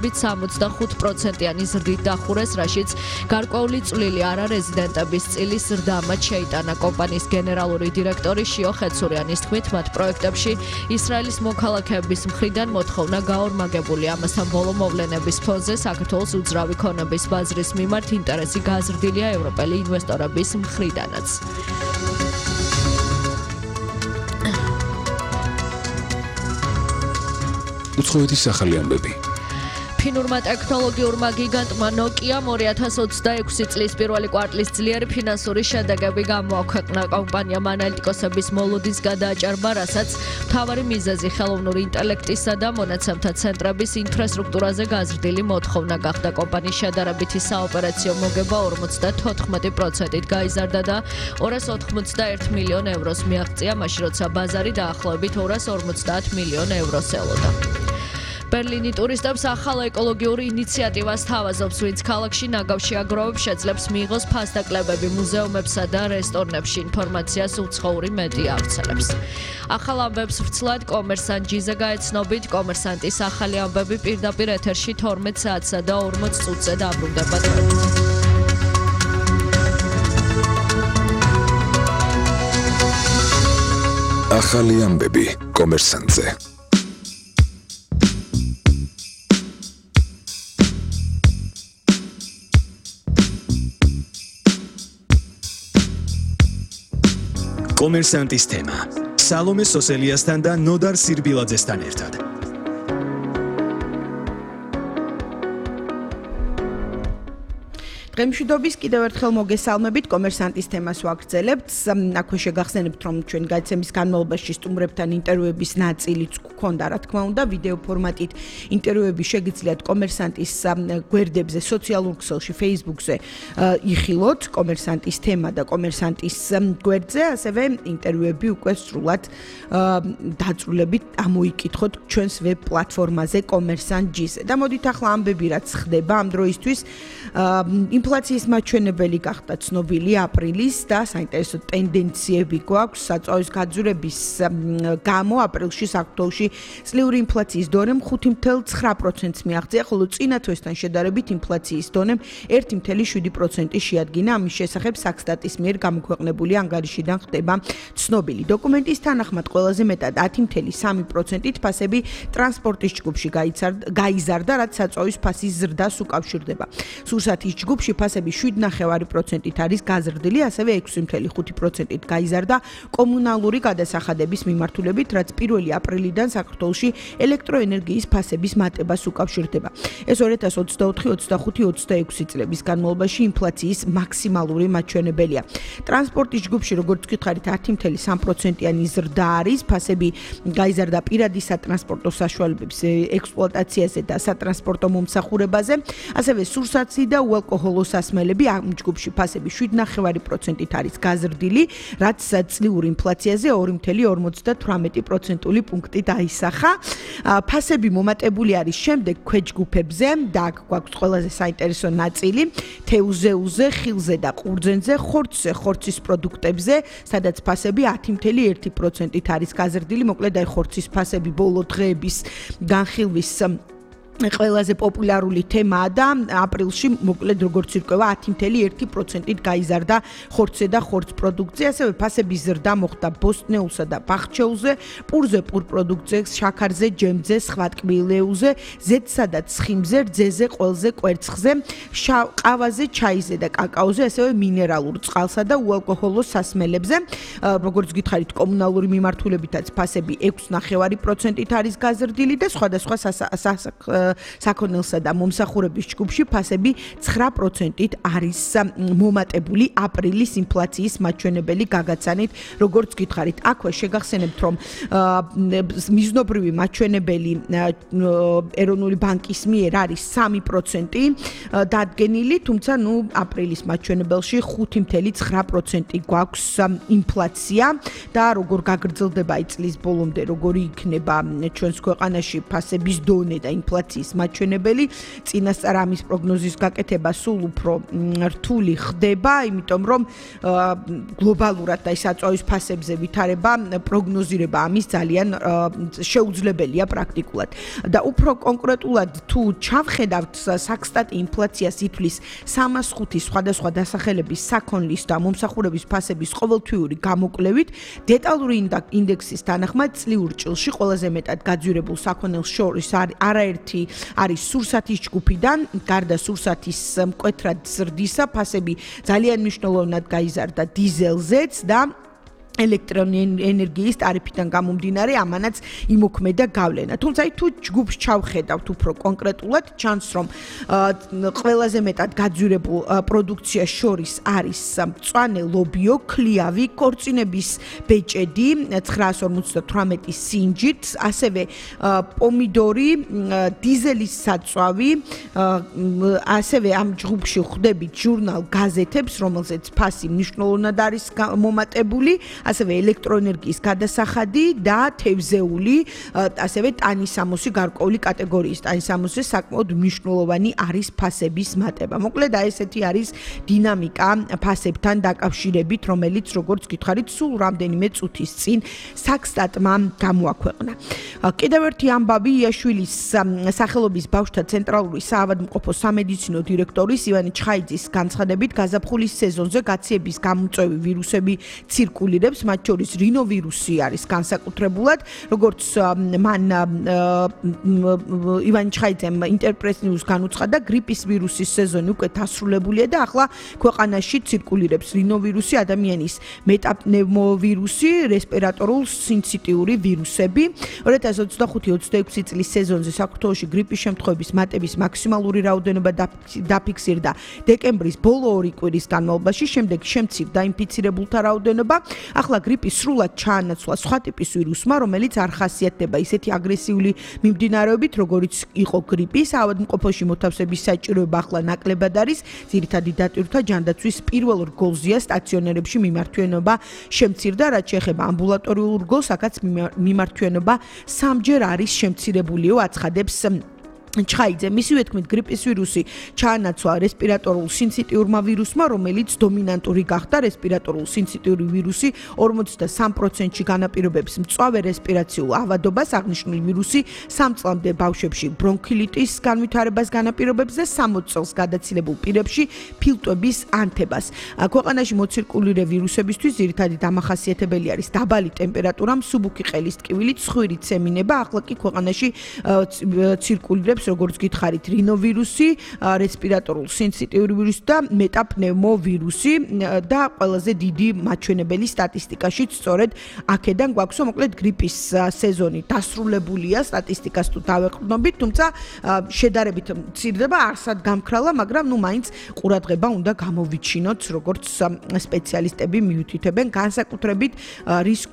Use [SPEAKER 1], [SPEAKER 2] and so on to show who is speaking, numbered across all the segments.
[SPEAKER 1] 65%-იანი ზრდით დახურეს, რაშიც გარკვეული წვლილი არარეზიდენტების წილის ზრდა მათ შეიტანა. კომპანიის გენერალური დირექტორი შიო ხეცურიანის თქმით, მათ პროექტებში ისრაელის მოქალაქეების მხრიდან მოთხოვნა გაორმაგებული. ამასთან ბოლო მოვლენების ფონზე საქართველოს უძრავი ქონების ბაზრის მიმართ ინტერესი გაზრდილია ევროპელი ინვესტორების მხრიდანაც.
[SPEAKER 2] უცხოეთის ახალი ამბები.
[SPEAKER 1] ფინურმა ტექნოლოგიურმა გიგანტმა Nokia 2026 წლის პირველი კვარტლის ძლიერი ფინანსური შედეგები გამოაქვეყნა. კომპანიამ ანალიტიკოსების მოლოდის გადააჭარბა, რასაც მთავარი მიზეზი ხელოვნური ინტელექტისა და მონაცემთა ცენტრების ინფრასტრუქტურაზე გაზრდილი მოთხოვნა გახდა. კომპანიის შედარებითი საოპერაციო მოგება 54%-ით გაიზარდა და 291 მილიონ ევროს მიაღწია, მაშინ როცა ბაზარი დაახლოებით 250 მილიონ ევროს ელოდა. ბერლინი ტურისტებს ახალ ეკოლოგიური ინიციატივას თავაზობს, ვინც ქალაქში ნაგავში აგროვებს შეძლებს მიიღოს ფასდაკლებები მუზეუმებსა და რესტორნებში. ინფორმაციას უცხოური მედია ავრცელებს. ახალ ამბებს ვრცლად კომერსანტ ჯიზე გაეცნობით. კომერსანტის ახალი ამბები პირდაპირ ეთერში 12 საათსა და 40 წუთზე დაბრუნდება.
[SPEAKER 2] ახალი ამბები კომერსანტზე.
[SPEAKER 3] კომერსანტის თემა სალომე სოსელიასთან და ნოდარ სირბილაძესთან ერთად.
[SPEAKER 4] დღემშვიდობის კიდევ ერთხელ მოგესალმებით, კომერსანტის თემას ვაგრძელებთ. აქვე შეგახსენებთ, რომ ჩვენ გადაცემის განმავლობაში სტუმრებთან ინტერვიუების ნაწილიც გქონდა, რა თქმა უნდა, ვიდეო ფორმატით ინტერვიუები შეგიძლიათ კომერსანტის გვერდებზე, სოციალურ ქსელში, Facebook-ზე იხილოთ, კომერსანტის თემა და კომერსანტის გვერდზე, ასევე ინტერვიუები უკვე სრულად დაწვრილებით ამოიკითხოთ ჩვენს ვებ პლატფორმაზე kommersant.gz-ზე. და მოდით ახლა ამბები რაც ხდება ამ დროისთვის, ინფლაციის მაჩვენებელი გახდა ცნობილი აპრილის და საინტერესო ტენდენციები გვაქვს საწვავის გაძვირების გამო აპრილში საქართველოში წლიური ინფლაციის დონემ 5.9%-ს მიაღწია, ხოლო წინა თვესთან შედარებით ინფლაციის დონემ 1.7% შეადგინა. ამის შესახებ საქსტატის მიერ გამოქვეყნებული ანგარიშიდან ხდება ცნობილი. დოკუმენტის თანახმად ყველაზე მეტად 10.3%-ით ფასები ტრანსპორტის ჯგუფში გაიზარდა, რაც საწვავის ფასის ზრდას უკავშირდება. სურსათის ჯგუფში ფასები 7.9%-ით არის გაზრდილი, ასევე 6.5%-ით გაიზარდა კომუნალური გადასახადების მიმართულებით, რაც 1 აპრილიდან საქართველოში ელექტროენერგიის ფასების მატებას უკავშირდება. ეს 2024-25-26 წლების განმავლობაში ინფლაციის მაქსიმალური მაჩვენებელია. ტრანსპორტის ჯგუფში, როგორც გითხარით, 10.3%-იანი ზრდა არის, ფასები გაიზარდა პირადი სატრანსპორტო საშუალებების ექსპლუატაციაზე და სატრანსპორტო მომსახურებაზე, ასევე სურსათი და უალკოჰოლო სასმელები ამ ჯგუფში ფასები 7.9%-ით არის გაზრდილი, რაც წლიური ინფლაციაზე 2.58% პუნქტით აისახა. ფასები მომატებული არის შემდეგ ქვეჯგუფებზე და აქ გვაქვს ყველაზე საინტერესო ნაწილი თევზეულზე, ხილზე და ყურძენზე, ხორცზე, ხორცის პროდუქტებზე, სადაც ფასები 10.1%-ით არის გაზრდილი. მოკლედ აი ხორცის ფასები ბოლო დღეების განხილვის ყველაზე პოპულარული თემაა და აპრილში მოკლედ როგორც ირკვევა 10.1%-ით გაიზარდა ხორცზე და ხორც პროდუქცია, ასევე ფასების ზრდა მოხდა ბოსტნეულსა და ბახჩეულზე, პურზე, პურ პროდუქციებზე, შაქარზე, ჯემზე, სხვა ტკბილეულზე, ზეთსა და ცხიმზე, რძეზე, ყველზე, კვერცხზე, ყავაზე, ჩაიზე და კაკაოზე, ასევე მინერალურ წყალსა და უალკოჰოლო სასმელებზე. როგორც გითხარით, კომუნალური მიმართულებითაც ფასები 6.9%-ით არის გაზრდილი და სხვადასხვა საქონელსა და მომსახურების ჯგუფში ფასები 9%-ით არის მომატებული აპრილის ინფლაციის მაჩვენებელი გაგაცანით, როგორც გითხარით. აქვე შეგახსენებთ, რომ მიზნობრივი მაჩვენებელი ეროვნული ბანკის მიერ არის 3% დადგენილი, თუმცა აპრილის მაჩვენებელში 5.9% გვაქვს ინფლაცია და როგორ გაგრძელდება წლის ბოლომდე, როგორი იქნება ჩვენს ქვეყანაში ფასების დონე და ინფლაციის ინფლაციის მაჩვენებელი. წინასწარ ამის პროგნოზის გაკეთება სულ უფრო რთული ხდება, იმიტომ რომ გლობალურად და საწვავის ფასებზე ვითარება პროგნოზირება ამის ძალიან შეუძლებელია პრაქტიკულად. და უფრო კონკრეტულად თუ ჩავხედავთ საქსტატი ინფლაციას ითვლის 305 სხვადასხვა დასახელების საქონლის და მომსახურების ფასების ყოველთვიური გამოკვლევით, დეტალური ინდექსის თანახმად წლიურ ჭილში ყველაზე მეტად გაძვირებულ საქონელს შორის არაერთი არის სურსათის ჯგუფიდან, გარდა სურსათის მკვეთრად ზრდისა, ფასები ძალიან მნიშვნელოვნად გაიზარდა დიზელზეც და ელექტროენერგიის ტარიფიდან გამომდინარე ამანაც იმოქმედა გავლენა. თუმცა თუ ჯგუფს ჩავხედავთ უფრო კონკრეტულად, ჩანს რომ ყველაზე მეტად გაძვირებულ პროდუქციას შორის არის მწვანე ლობიო, ქლიავი, ქორწინების ბეჭედი 958 სინჯით, ასევე პომიდორი, დიზელის საწვავი, ასევე ამ ჯგუფში ხვდებით ჟურნალ გაზეთებს, რომელზეც ფასი მნიშვნელოვნად არის მომატებული. ასევე ელექტროენერგიის გადასახადი და თევზეული, ასევე ტანისამოსი გარკვეული კატეგორიის ტანისამოსი საკმაოდ მნიშვნელოვანი არის ფასების მატება. მოკლედ ესეთი არის დინამიკა ფასებთან დაკავშირებით, რომელიც როგორც გითხარით, სულ რამდენიმე წუთის წინ საქსტატმა გამოაქვეყნა. კიდევ ერთი ამბავი იაშვილის სახელობის ბავშვთა ცენტრალური საავადმყოფოს სამედიცინო დირექტორის ივანე ჩხაიძის განცხადებით, გაზაფხულის სეზონზე გაციების გამოწვევი ვირუსები ცირკულირებს, მათ შორის რინოვირუსი არის განსაკუთრებულად, როგორც მან ივან ჩხაიძემ ინტერპრეს ნიუს განუცხადა, გრიპის ვირუსის სეზონი უკვე დასრულებულია და ახლა ქვეყანაში ცირკულირებს რინოვირუსი, ადამიანის მეტაპნევმოვირუსი, რესპირატორულ სინციტიური ვირუსები. 2025-26 წლის სეზონზე საქართველოში გრიპის შემთხვევების მატების მაქსიმალური რაოდენობა დაფიქსირდა დეკემბრის ბოლო 2 კვირის განმავლობაში, შემდეგ შემცირდა ინფიცირებულთა რაოდენობა. ახლა გრიპის სრულად ჩაანაცვლა სხვა ტიპის ვირუსმა, რომელიც არ ხასიათდება ისეთი აგრესიული მიმდინარეობით, როგორიც იყო გრიპი. საავადმყოფოში მოთავსების საჭიროება ახლა ნაკლებად არის. ძირითადი დატვირთვა ჯანდაცვის პირველ რგოლზეა, სტაციონერებში მიმართვენობა შემცირდა, რაც შეეხება ამბულატორიულ რგოლს, აქაც მიმართვენობა 3-ჯერ არის შემცირებულიო, აცხადებს ჩხაიძე. მისივე თქმით, გრიპის ვირუსი ჩაანაცვლა რესპირატორულ სინციტიურმა ვირუსმა, რომელიც დომინანტური გახდა. რესპირატორულ სინციტიური ვირუსი 43%-ში განაპირობებს მწვავე რესპირაციულ ავადობას, აღნიშნული ვირუსი 3 წლამდე ბავშვებში ბრონქილიტის განვითარებას განაპირობებს და 60 წელს გადაცილებულ პირებში ფილტვების ანთებას. ქვეყანაში მოცირკულირე ვირუსებისთვის ძირითადი დამახასიათებელი არის დაბალი ტემპერატურა, მსუბუქი ყელის ტკივილი, ცხვირი ცემინება. ახლა კი ქვეყანაში ცირკულირებს როგორც გითხარით, რინოვირუსი, რესპირატორულ სინციტიური ვირუსი და მეტაპნევმოვირუსი და ყველაზე დიდი მაჩვენებელი სტატისტიკაშიც სწორედ აქედან გვაქვს, მოკლედ გრიპის სეზონი დასრულებულია, სტატისტიკას თუ დავეყრდნობით, თუმცა შედარებით მცირდება, არსად გამქრალა, მაგრამ მაინც ყურადღება უნდა გამოვიჩინოთ, როგორც სპეციალისტები მიუთითებენ, განსაკუთრებით რისკ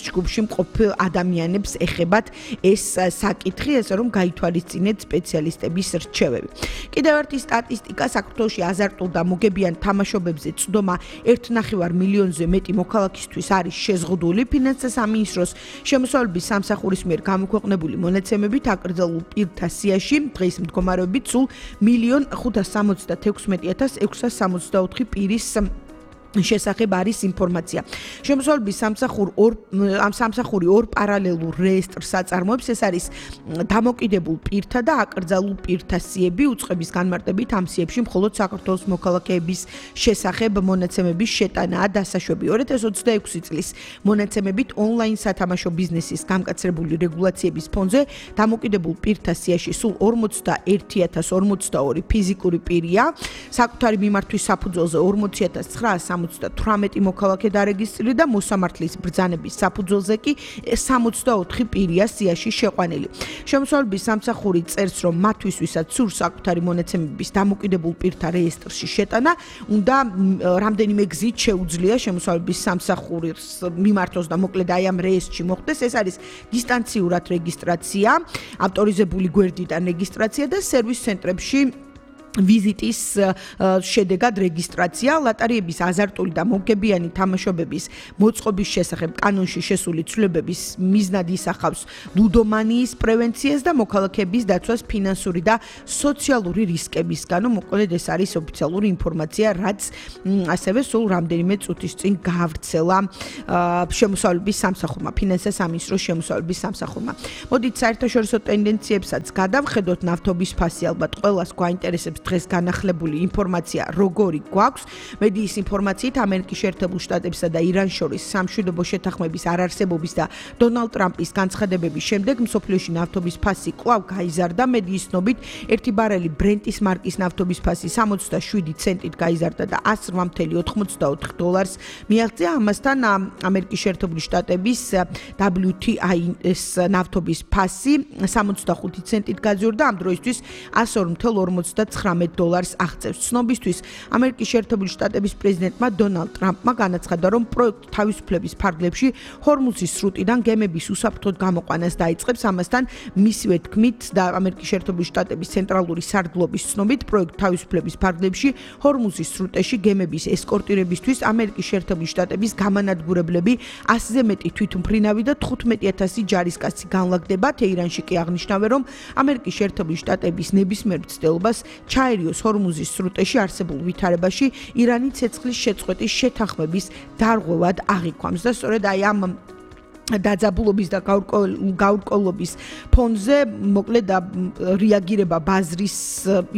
[SPEAKER 4] ჯგუფში მყოფ ადამიანებს ეხებათ ეს საკითხი, ესე რომ გაითვალისწინეთ სპეციალისტების რჩევები. კიდევ ერთი სტატისტიკა, საქართველოში აზარტულ და მოგებიან თამაშობებზე წვდომა 1.5 მილიონზე მეტი მოქალაქისთვის არის შეზღუდული. ფინანსთა სამინისტროს შემოსავლების სამსახურის მიერ გამოქვეყნებული მონაცემებით აკრძალულ პირთა სიაში დღის მდგომარეობით სულ 1,576,664 პირის შესახებ არის ინფორმაცია. შემოსავლების სამსახური ორ პარალელურ რეესტრს აწარმოებს, ეს არის დამოკიდებულ პირთა და აკრძალულ პირთა სიები, უწყების განმარტებით ამ სიებში მხოლოდ საქართველოს მოქალაქეების შესახებ მონაცემების შეტანაა დასაშვები. 2026 წლის მონაცემებით ონლაინ სათამაშო ბიზნესის გამკაცრებული რეგულაციების ფონზე დამოკიდებულ პირთა სიაში სულ 41,042 ფიზიკური პირია, საკუთარი მიმართვის საფუძველზე 40,900 18 მოქალაქე დარეგისტრირდა და მოსამართლის ბრძანების საფუძველზე კი 64 პირია სიაში შეყვანილი. შემოსავლების სამსახური წერს, რომ მათთვის, ვისაც სურს საკუთარი მონაცემების დამოკიდებულ პირთა რეესტრში შეტანა, უნდა რამდენიმე გზით შეუძლია შემოსავლების სამსახურის მიმართოს და მოკლედ აი ამ რეესტრში მოხდეს. ეს არის დისტანციურად რეგისტრაცია, ავტორიზებული გვერდიდან რეგისტრაცია და სერვის ცენტრებში ვიზიტის შედეგად რეგისტრაცია ლოტარიების აზარტული და მომგებიანი თამაშობების მოწყობის შესახებ კანონში შესული ცვლილებების მიზნად ისახავს ლუდომანიის პრევენციას და მოქალაქეების დაცვას ფინანსური და სოციალური რისკებისგან. მოკლედ ეს არის ოფიციალური ინფორმაცია, რაც ასევე სულ რამდენიმე წუთის წინ გაავრცელა შემოსავლების სამსახურმა, ფინანსთა სამინისტროს შემოსავლების სამსახურმა. მოდით საერთაშორისო ტენდენციებსაც გადავხედოთ. ნავთობის ფასი ალბათ ყველას გვაინტერესებს. დღეს განახლებული ინფორმაცია როგორი გვაქვს მედიის ინფორმაციით ამერიკის შეერთებულ შტატებსა და ირანს შორის სამშვიდობო შეთანხმების არარსებობის და დონალდ ტრამპის განცხადებების შემდეგ მსოფლიოში ნავთობის ფასი კვლავ გაიზარდა მედიის ცნობით 1 ბარელი ბრენტის მარკის ნავთობის ფასი 67 ცენტით გაიზარდა და $108.84 მიაღწია ამასთან ამერიკის შეერთებული შტატების WTI-ის ნავთობის ფასი 65 ცენტით გაიზარდა ამ დროისთვის $102.59 აღწევს. ცნობისთვის ამერიკის შეერთებული შტატების პრეზიდენტმა დონალდ ტრამპმა განაცხადა, რომ პროექტ თავისუფლების ფარგლებში ჰორმუზის სრუტიდან გემების უსაფრთხოდ გამოყვანას დაიწყებს. ამასთან მისივე თქმით და ამერიკის შეერთებული შტატების ცენტრალური სარდლობის ცნობით პროექტ თავისუფლების ფარგლებში ჰორმუზის სრუტეში გემების ესკორტირებისთვის ამერიკის შეერთებული შტატების გამანადგურებლები 100-ზე მეტი თვითმფრინავი და 15,000 ჯარისკაცი განლაგდება. თეირანში კი აღნიშნავენ, რომ ამერიკის შეერთებული შტატების ნებისმიერ მცდელობას ჩაერიოს ჰორმუზის სრუტეში არსებულ ვითარებაში ირანი ცეცხლის შეწყვეტის შეთანხმების დარღვევად აღიქვამს და სწორედ აი ამ დაძაბულობის და გაურკვევლობის ფონზე მოკლედ რეაგირება ბაზრის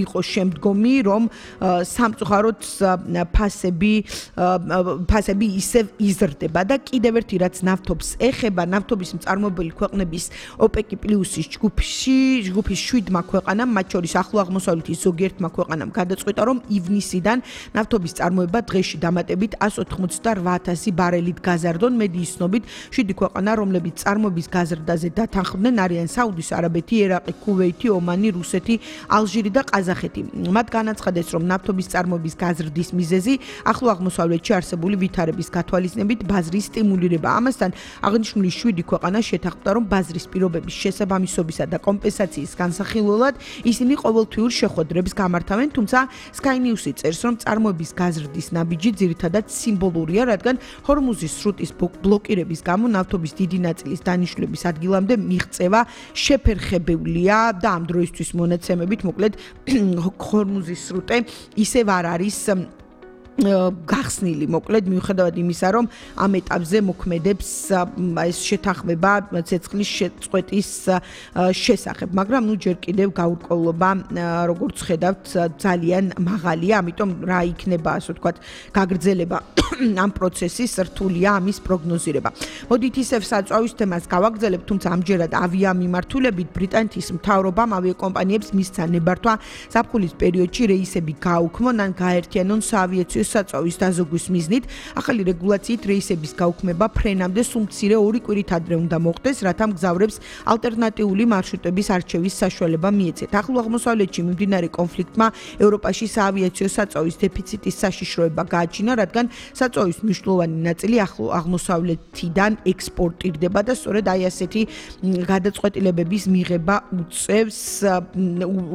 [SPEAKER 4] იყო შემდგომი, რომ სამწუხაროდ ფასები ისევ იზრდება და კიდევ ერთი რაც ნავთობს ეხება, ნავთობის მწარმოებელი ქვეყნების OPEC პლუსის ჯგუფის 7-მა ქვეყანამ, მათ შორის ახლო აღმოსავლეთის ზოგიერთმა ქვეყანამ გადაწყვიტა, რომ ივნისიდან ნავთობის წარმოება დღეში დამატებით 188,000 ბარელით გაზარდონ. მედიის ცნობით 7 ქვეყანა რომლებიც წარმოების გაზრდაზე დათანხმდნენ არიან საუდის არაბეთი, ერაყი, ქუვეითი, ომანი, რუსეთი, ალჟირი და ყაზახეთი. მათ განაცხადეს, რომ ნავთობის წარმოების გაზრდის მიზეზი ახლო აღმოსავლეთში არსებული ვითარების გათვალისწინებით ბაზრის სტიმულირება. ამასთან აღნიშნული 7 ქვეყანა შეთანხმდა, რომ ბაზრის პირობების შესაბამისობისა და კომპენსაციის განსახილველად ისინი ყოველთვიურ შეხვედრებს გამართავენ, თუმცა Sky News-ი წერს, რომ წარმოების გაზრდის ნაბიჯი ძირითადად სიმბოლურია, რადგან ჰორმუზის სრუტის ბლოკირების გამო ნავთობის დიდი ნაწილის დანიშნულების ადგილამდე მიღწევა შეფერხებულია და ამ დროისთვის მონაცემებით მოკლედ ჰორმუზის სრუტე ისევ არ არის გახსნილი მოკლედ მიუხედავად იმისა რომ ამ ეტაპზე მოქმედებს ეს შეთანხმება ცეცხლის შეწყვეტის შესახებ მაგრამ ნუ ჯერ კიდევ გაურკვევლობა როგორც ხედავთ ძალიან მაღალია ამიტომ რა იქნება ასე ვთქვათ გაგრძელება ამ პროცესის რთულია ამის პროგნოზირება მოდით ისევ საწვავის თემას გავაგრძელებთ თუმცა ამჯერად ავიამიმართულებით ბრიტანეთის მთავრობამ ავიაკომპანიებს მისცა ნებართვა ზაფხულის პერიოდში რეისები გააუქმონ ან გაერთიანონ საავიაციო საწვავის დაზოგვის მიზნით ახალი რეგულაციით რეისების გაუქმება ფრენამდე სულ მცირე 2 კვირით ადრე უნდა მოხდეს რათა მგზავრებს ალტერნატიული მარშრუტების არჩევის საშუალება მიეცეთ ახლო აღმოსავლეთში მიმდინარე კონფლიქტმა ევროპაში საავიაციო საწვავის დეფიციტის საშიშროება გააჩინა რადგან საწვავის მნიშვნელოვანი ნაწილი ახლო აღმოსავლეთიდან ექსპორტირდება და სწორედ აი ასეთი გადაწყვეტილებების მიღება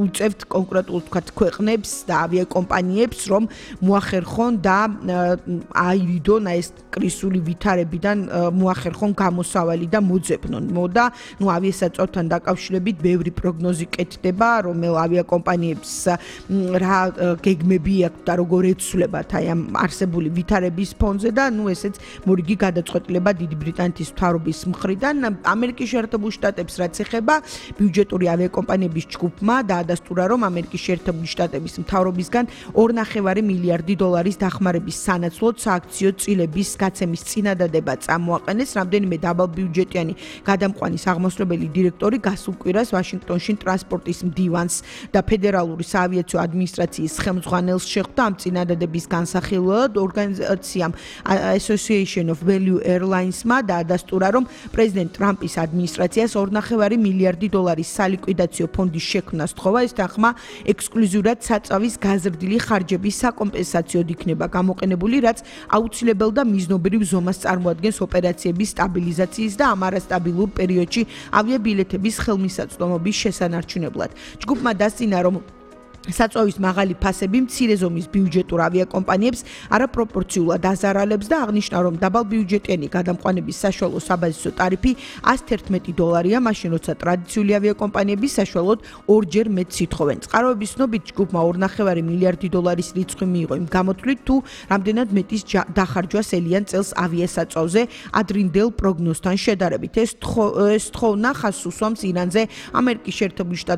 [SPEAKER 4] უწევთ კონკრეტულ თქვათ ქვეყნებს და ავიაკომპანიებს რომ მოახერხონ და აირიდონ ეს კრიზისული ვითარებიდან მოახერხონ გამოსავალი და მოძებნონ. მოდა, ნუ ავიასაწვავთან დაკავშირებით ბევრი პროგნოზი კეთდება, რომელ ავიაკომპანიებს რა გეგმები აქვს და როგორ ეცვლებათ აი ამ არსებული ვითარების ფონზე და ნუ ესეც მორიგი გადაწყვეტილება დიდი ბრიტანეთის მთავრობის მხრიდან ამერიკის შეერთებულ შტატებს რაც ეხება ბიუჯეტური ავიაკომპანიების ჯგუფმა დაადასტურა რომ ამერიკის შეერთებული შტატების მთავრობისგან 2.5 მილიარდი დოლარის დახმარების სანაცვლოდ სააქციო წილების გაცემის წინადადება წამოაყენეს რამდენიმე დაბალბიუჯეტიანი გადამყვანის აღმასრულებელი დირექტორი გასულ კვირას ვაშინგტონში ტრანსპორტის მდივანს და ფედერალური საავიაციო ადმინისტრაციის ხელმძღვანელს შეხვდა ამ წინადადების განსახილველად ორგანიზაციამ Association of Value Airlines-მა დაადასტურა რომ პრეზიდენტ ტრამპის ადმინისტრაციას 2.5 მილიარდი დოლარის სალიკვიდაციო ფონდის შექმნა სთხოვა ეს თანხმა ექსკლუზიურად საწავის გაზრდილი ხარჯების საკომპენსაციოდ იქნება გამოყენებული, რაც აუცილებელ და მიზნობრივ ზომას წარმოადგენს ოპერაციების სტაბილიზაციის და ამ არასტაბილურ პერიოდში ავიაბილეთების ხელმისაწვდომობის შესანარჩუნებლად. ჯგუფმა დასწინა, რომ საწვავის მაღალი ფასები მცირე ზომის ბიუჯეტურ ავიაკომპანიებს არაპროპორციულად აზარალებს და აღნიშნა, რომ დაბალ ბიუჯეტიანი გადამყვანების საშუალო საბაზისო ტარიფი $111, მაშინ როცა ტრადიციული ავიაკომპანიების საშუალოდ ორჯერ მეტ სითხოვენ. წყაროების ცნობით ჯგუფმა $2.5 მილიარდი რიცხვი მიიღო იმ გამოთვლით, თუ რამდენად მეტის დახარჯვას ელიან წელს ავიასაწვავზე ადრინდელ პროგნოზთან შედარებით. ეს თხოვნა ხაზს უსვამს ირანზე, ამერიკის შეერთებული შტატების